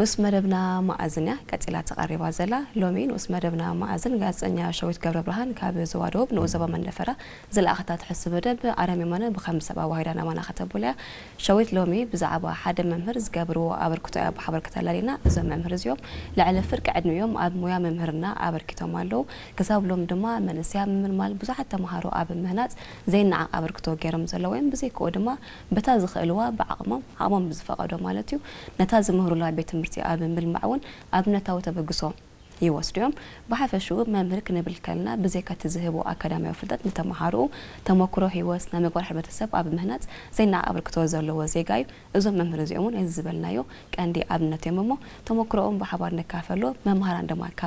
ንኡስ መደብና መኣዝን እያ ቀጺላ ተቐሪባ ዘላ። ሎሚ ንኡስ መደብና መኣዝን ጋዜጠኛ ሸዊት ገብረ ብርሃን ካብ ዞባ ደቡብ ንኡስ ዞባ መንደፈራ ዝለኣኸታ ትሕዝቶ መደብ ኣረም የማነ ብኸምዚ ሰብ ኣዋሂዳ ናባና ከተብሎ እያ። ሸዊት ሎሚ ብዛዕባ ሓደ መምህር ዝገብርዎ ኣበርክቶ እያ ብሓበርከት ኣላሊና። እዞም መምህር እዚኦም ልዕሊ ፍርቂ ዕድሚኦም ኣብ ሙያ መምህርና ኣበርኪቶም ኣለዉ። ክሳብ ሎም ድማ መንእሰያ ምምልማል ብዙሓት ተምሃሮ ኣብ ምህናጽ ዘይነዓቕ ኣበርክቶ ገይሮም ዘለዉ እዮም። ብዘይክኡ ድማ በታ ዝኽእልዋ ብዓቕሞም ዓቕሞም ብዝፈቐዶ ማለት እዩ ነታ ዝምህሩላ ቤት ትምህርቲ ኣብ ምልማዕ እውን ኣብነታዊ ተበግሶ ይወስዱ እዮም። ብሓፈሽኡ መምህር ክንብል ከልና ብዘይካ እቲ ዝህቦ ኣካዳሚያዊ ፍልጠት ንተምሃሮኡ ተመክሮ ህይወት ናይ ምግባር ሕብረተሰብ ኣብ ምህናጽ ዘይነዓቕ ኣበርክቶ ዘለዎ ዜጋ እዩ። እዞም መምህር እዚኦም እውን እዚ ዝበልናዮ ቀንዲ ኣብነት እዮም እሞ ተመክሮኦም ብሓባር ንካፈሎ። መምሃራን ድማ ካብ